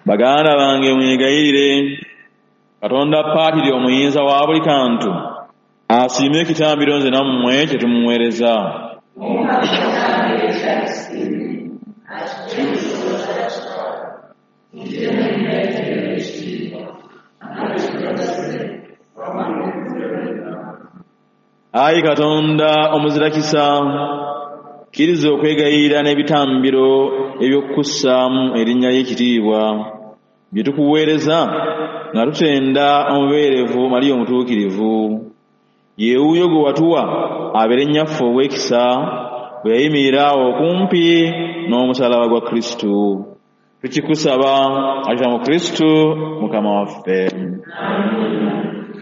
Baganda bange, mwegayirire Katonda Paatiri omuyinza wa buli kantu asiime ekitambiro nze nammwe kye tumuweereza. Omukama ekitambiro eky'akisiimye, akiggye mu kisibo kya kitaawe, kijje n'ekimuleetera ekitiibwa, ate kitugase wamu n'eggulu lyonna. Ayi Katonda omuzirakisa, kkiriza okwegayirira n'ebitambiro eby'okussaamu erinnya ly'ekitiibwa bye tukuweereza nga tutenda omubeerevu Mariya omutuukirivu. Ye wuuyo gwe watuwa abeere nnyaffe ow'ekisa bwe yayimirira awo okumpi n'omusaalaba gwa Kristu. Tukikusaba ayita mu Kristu Mukama waffe.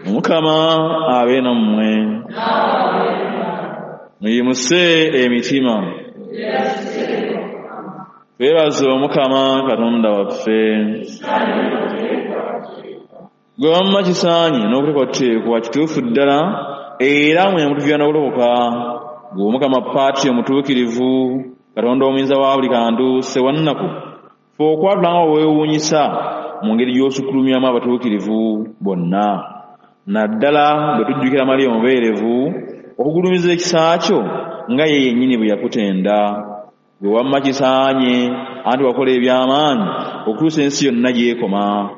Omukama abe nammwe. Muyimuse emitima. Twebaze Omukama Katonda waffe. Gwe wamma kisaanye n'okuteekwateekwa kituufu ddala era mwe mutuviira n'okulokoka. Gwe Omukama Paatiri omutuukirivu, Katonda omuyinza wa buli kantu Ssewannaku, ffe okwatula nga weewuunyisa mu ngeri gy'osukkulumyamu abatuukirivu bonna. Naddala bwe tujjukira Mariya omubeerevu, okugulumiza ekisa kyo nga ye yennyini bwe yakutenda. Gwe wamma kisaanye anti wakola eby'amaanyi okutuusa ensi yonna gy'ekoma,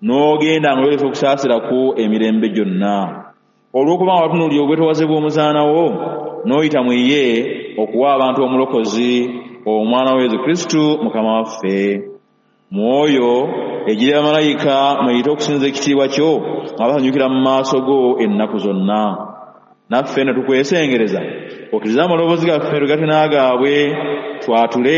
n'ogenda ng'oyolesa okusaasira kwo emirembe gyonna. Olw'okuba nga watunuulira obwetoowaze bw'omuzaana wo, n'oyita mu ye okuwa abantu omulokozi, omwana wa Yesu Kristu Mukama waffe. Mwoyo egira bamalayika mweyite okusinza ekitiibwa kyo nga basanyukira mu maaso go ennaku zonna. Naffe nno tukwesengereza okkirize amaloboozi gaffe tugatte n'agaabwe twatule